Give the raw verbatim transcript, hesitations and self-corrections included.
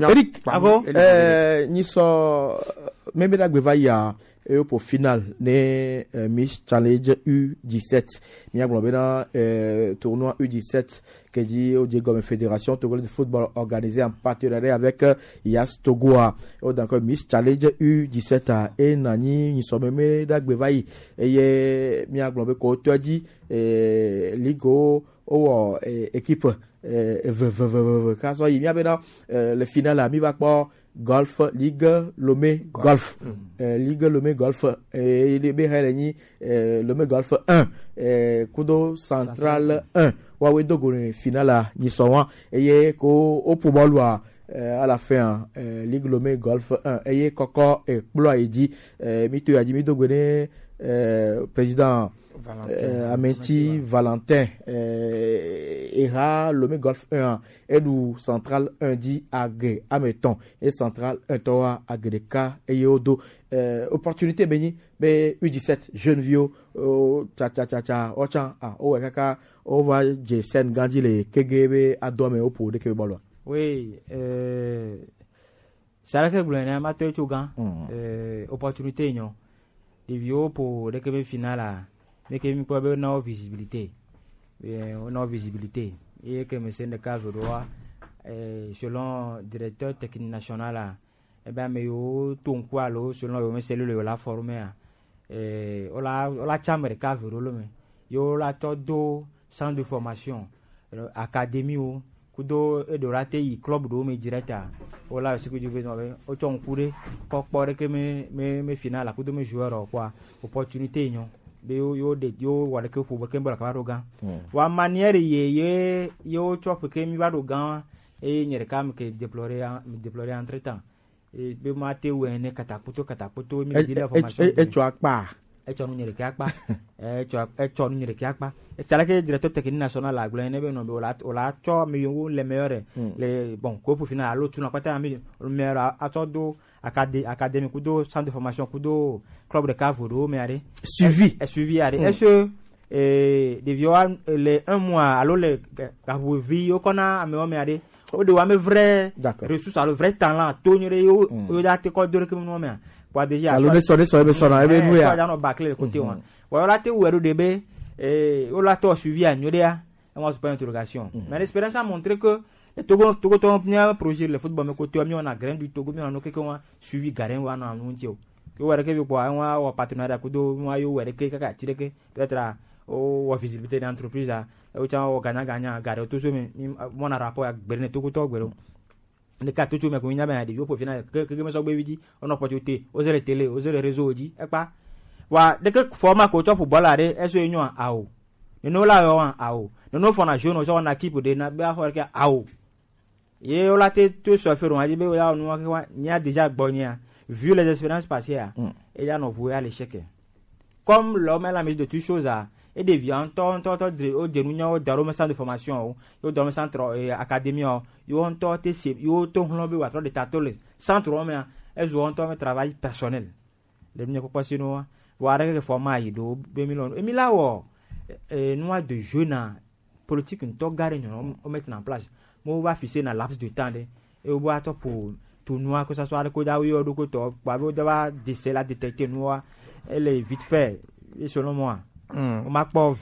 Eric, ah bon? Eric, euh, nyi sɔ, euh, mebe dagbe va ya, e po final ne, euh, Miss Challenge U dix-sept. Mi agblɔ bena, euh, tournoi U dix-sept ke dzi o dze gɔme Fédération Togolaise de Football organisé en partenariat avec, euh, Yas Togo a. O donc Miss Challenge U dix-sept a, e na nyi nyi sɔ meme dagbe va yi. Eye mi agblɔ be ko to dzi, euh, ligue o, o wɔ, euh, équipe, euh, eve, eve, eve, eve, eve. Ka sɔ yi mi abena, euh, le final a, mi va kpɔ Golf, Ligue Lomé Golf. Euh, Ligue Lomé Golf, euh, il est bien réuni, euh, Lomé Golf un, euh, Kudo Central un. Wa we dogo ne final a, ni so wan. Eye ko o po bɔlu a, euh, à la fin, euh, Ligue Lomé Golf un. Eye kɔkɔ, euh, kplo a yi dzi, euh, mi to ya dzi mi dogo ne, euh, président Valentin. Euh, Amenti Valentin, euh, eha Lomé Golf un, eɖu Central un dzi age ame etɔ̃, e Central un tɔ wa age ɖeka, eye wodo, euh, opportunité be nyi be U dix-sept jeune viwo, oh, tsa, tsa, tsa, tsa, wotsã, ah, wowɔe kaka wova dze scène gã dzi le kege be ado ame wo ƒo ɖeke be bɔlua. Oui, euh, c'est vrai que gblɔe na ma to tso gã, euh, opportunité nyɔ. Ɖeviwo ƒo ɖeke be final a, ɖeke mi kpɔ be na wo visibilité. Eh, wo na wo visibilité. Eye ke me se ɖeka ve ɖoa, eh, selon directeur technique national a, ebe ame yiwo to ŋku alo selon yo me se lolo yo la former a, eh, wo la, wo la tsa ame ɖeka ve ɖo lo me. Yo la tɔ do centre de formation, euh, académie wo, kudo eɖewo la te yi club ɖewo me direct a, wo la le suku dzi be nɔ be wotsɔ ŋku ɖe kɔ kpɔ ɖeke me, me, me final a kudo me joueur o kpɔa, opportunité nyɔ be yo, yo ɖe, yo wɔ ɖeke ƒo be ke be la kaba ɖo gã. Wa manière ye, ye, ye wotsɔ ƒe ke mi va ɖo gã wa, eye nye ɖeka me ke déplorer, me déplorer entre temps. E, be ma te wɛ ne katakpoto, katakpoto, mi di le formation. Etsɔ akpa. Etsɔ nu nye ɖeke akpa. Etsɔ, etsɔ nu nye ɖeke akpa. Etsɔ leke directeur technique national la gblɔ ne be nɔ be o la, o la tsɔ mi yo le meilleur. Le, bon, ko pour final alo tu na kpata mi meilleur a, atsɔ do acadé-, académie kudo centre de formation kudo club de cavo do me are. Suivi. E, suivi are. Est-ce que, eh, ɖeviwo le un mois alo le ga-, gaʋuvi yo kɔna amewo me are? O de wa me vrai ressource alo vrai talent to nyo de yo, yo da te ko do ke mo me. Kwa déjà alo ne so, ne so, ne so na ebe nu ya. So da no baclé le côté wa. Wa la te wo do de be, eh, o la to suivi a nyo de ya. E mo point d'interrogation. Mais l'expérience a montré que le Togo, Togo to bien projet le football me côté mi on a grain du Togo mi on a quelque wa suivi garin wa na nu ntio. Ke were ke bi kwa wa partenariat kudo wa yo were ke kaka tireke peut-être o wa visibilité d'entreprise a, o cha o ganya ganya gare to so mi, mi, mo na rapport ya gbere ne to ko to gbere. Ne ka tutu me ko nya me ade yo po fina ke, ke me so gbe vidi, o no po te, o zere télé, o zere réseau di e pa. Wa de ke format ko to pour bɔla de e so enyo a o. Ne no la yo a o. Ne no fo na jeune o so na équipe de na be a fo ke a o. Ye o la te to so fero a di be o ya o no ke wa nya déjà gbɔ nya. Vu les expériences passées a, e ya no voué à l'échec. Comme l'homme est la maîtrise de toutes choses a, e devient ŋutɔ ŋutɔ ŋutɔ dre o denu nyawo da ɖo me centre de formation o, yo da ɖo me centre, eh, académie o, yo ŋutɔ te se yo to hlɔ̃ be wa trɔ de tato le centre o me a, e zo ŋutɔ me travail personnel. Le mi kpɔkpɔ si no wa, wa ɖe ke format yi do be mi lɔ, e mi la wɔ, eh, nua de jeu na politique ŋutɔ gã ɖe nyɔnɔ o mettre en place. Mo va fixer na laps de temps ɖe. E wo va tɔ ƒo tournoi ko sasɔ aɖe ko dza wo yɔ ɖo ko tɔ kpa be wo dza va déceler, détecter nua. Ele vite fait. E selon moi. O ma kpɔ